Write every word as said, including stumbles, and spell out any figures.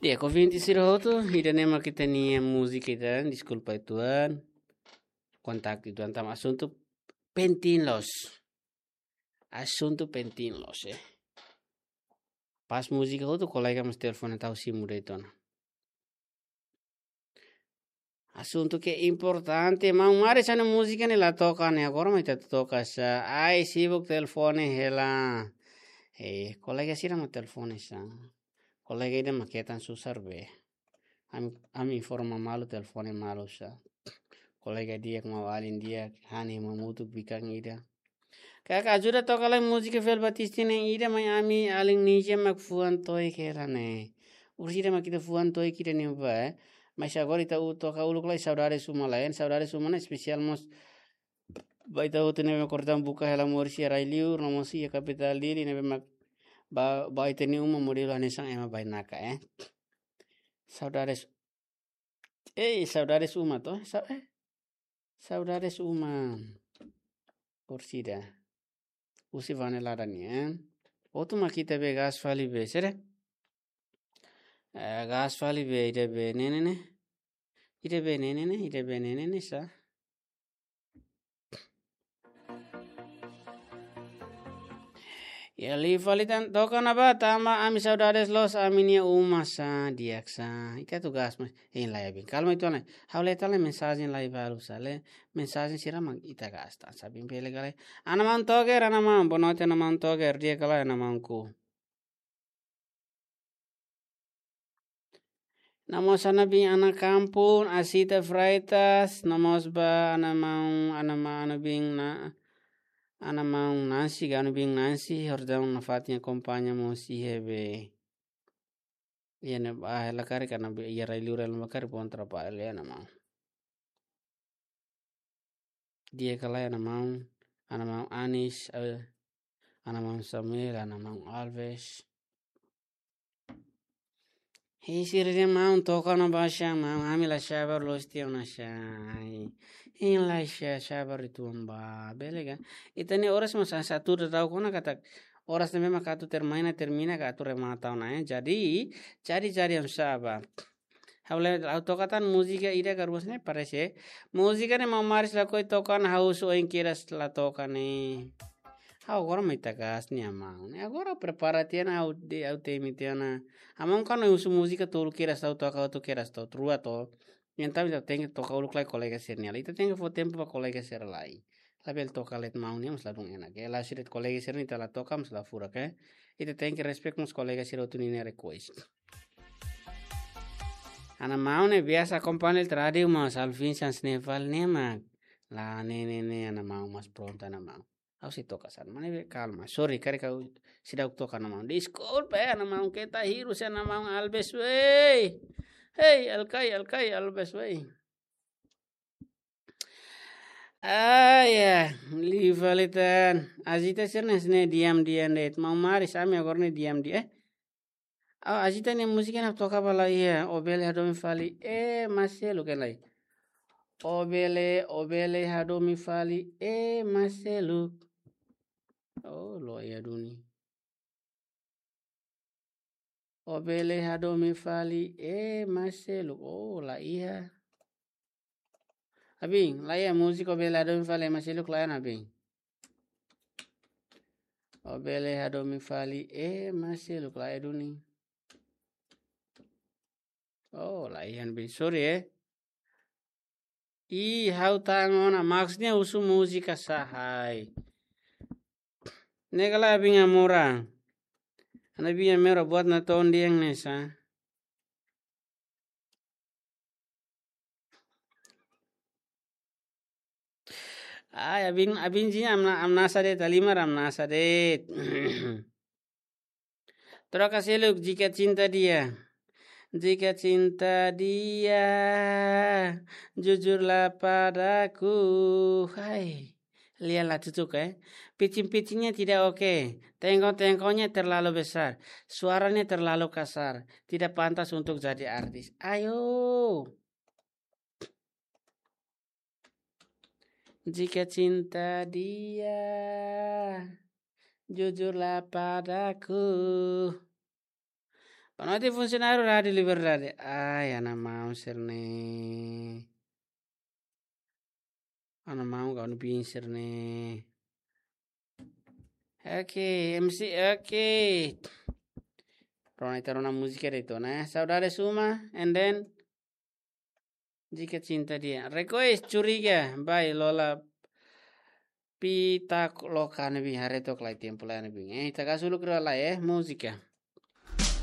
Di'ak, ouvinte sira hotu, ida-ne'e mak ita-nia múzika ida, deskulpa uitoan. Kontaktu uitoan tanba asuntu penting loos. Asuntu penting loos, eh. Pas múzika hotu, kolega mós telefone tau simu de'it ona. Asuntu ke importante, maun Mari, hanesan múzika ne'e la toka ne'e, agora mak ita toka sá. Ai, sibuk telefone hela. Eh, kolega sira mak telefone sá. Kolega ida mak hetan susar be. Ami, ami informa malu, telefone malu sá. Kolega di'ak, maun-alin di'ak, hanesan mamutuk bikan ida. Kaka, ajuda toka lai múzika Velvet Batista nian ida, mai ami alin Nija mak fuan to'ik hela ne'e. Orsida mak ita fuan to'ik ida-ne'e ba, eh. Mas agora ita atu toka uluk lai Saudades Uma lai, eh. Saudades Uma ne'e espesiál mós ba ita hotu ne'ebé mak kortan buka hela moris iha rai-liur, no mós iha kapitál Dili ne'ebé mak ba, ba ita-nia uma modelu hanesan ema bainaka, eh. Saudades, eh, Saudades Uma to, sa-, eh. Saudades Uma. Orsida. Husi Vanelada nian. Hotu mak ita be gas fali be, sere? Eh, gas fali be, ida be ne'e ne'e ne'e. Ida be ne'e ne'e ne'e, ida be ne'e ne'e ne'e sá. Ya, liu fali tan, toka ona ba, tanba ami saudades loos ami-nia uma sá, di'ak sá. Ita atu gas, mas, hein lai, abin. Kalma uitoan lai. Ha'u lee tan lai mensajen lai balu sá, lee mensajen sira mak ita gas tan, sá, abin, bele ka lae. Ana maun Toger, ana maun, boa noite, ana maun Toger, di'ak ka lae, ana maunku. No mós ana bin, ana kampung, Asita Freitas, no mós ba ana maun, ana ma-, ana bin na, ana maun Nancy, ka ana bin Nancy, Jordão nafatin akompaña mós iha be. Iha ne'ebá hela karik, ana be, iha rai-liur hela karik, bom trabalho, ya, ana maun. Di'ak ka lae, ana maun, ana maun Anis, eh, ana maun Samuel, ana maun Alves. Hei, sira-nia maun, toka ona ba sá, maun, ami la sabar loos tiha ona sá. Ai. Hein lai sá, sabar uitoan ba, bele ka? Ita-nia oras mós hanesan atu daudaun ona katak oras ne'ebé mak atu termina, termina ka atu remata ona, eh. Jadi, jadi, jadi, em, sabar. Ha'u le-, ha'u toka tan múzika ida ka rua ne'e parese. Múzika ne'e maun Maris lakohi toka ona, ha'u husu oin kedas la toka ne'e. Ha'u agora mak ita gas ne'e, maun. Ne'e agora prepara tiha ona, ha'u de-, ha'u temi tiha ona. Maun kan husu múzika tolu kedas ha'u toka, ha'u toka kedas to, rua to. Entaun ita tenke toka uluk lai kolega sira-nia lai. Ita tenke fó tempu ba kolega sira lai. Labele toka de'it maun nian mós ladún enak. Ke la sira kolega sira-nia ita la toka mós la furak, eh. Ita tenke respect mós kolega sira hotu ninia request. Ana maun ne'e biasa akompaña iha rádiu, mas Alvin hanesan ne'e fali ne'e mak. La, ne'e, ne'e, ne'e, ana maun mós prontu, ana maun. Ha'u sei toka sá, maun ne'ebé kalma. Sorry, karik ha'u seidauk toka, ana maun. Deskulpa, eh, ana maun, keta hirus, eh, ana maun Alves, wei. Hei, alkai, alkai, Alves, wei. Ah, ya, liu fali tan. Asita sira-ne'e hanesan ne'e diam-diam de'it. Maun Maris, ami agora ne'e diam-diam, eh. Oh, Asita nia múzika ne'e toka ba la iha, ó bele hadomi fali, eh, ema seluk, hein lai. Ó bele, ó bele hadomi fali, eh, ema seluk. Oh, la iha duni. Ó bele hadomi fali, eh, ema seluk. Oh, la iha. Abin, la iha múzika ó bele hadomi fali, eh, ema seluk, la iha, abin. Ó bele hadomi fali, eh, ema seluk, la iha duni. Oh, la iha, abin. Sorry, eh. Ih, ha'u ta'uk ona, maksudnya husu múzika sá, hai. Ne'e ka lae, abin Amora. Ana bin Amora buat natoon dehan ne'e sá. Ai, abin, abin jin amna, amnasa de'it, halimar amnasa de'it. Troka seluk, jika cinta dia. Jika cinta dia, jujurlah padaku. Hai, lihatlah cucuk, eh. Pitching-pitchingnya tidak oke. Tengkol-tengkolnya terlalu besar. Suaranya terlalu kasar. Tidak pantas untuk jadi artis. Ayo. Jika cinta dia, jujurlah padaku. Boa noite, funsionáriu Rádio Liberdade. Ai, ana mau serne. Ana mau kau ni bin serne. Oke, M C, oke. Rona ita rona múzika de'it ona. Saudade suma, and then Jika Cinta Dia. Request Curiga by Lola Pita Loka ne'ebé haree to'ok lai tempu lai ne'ebé. Eh, ita kasuluk rua lai, eh, múzika.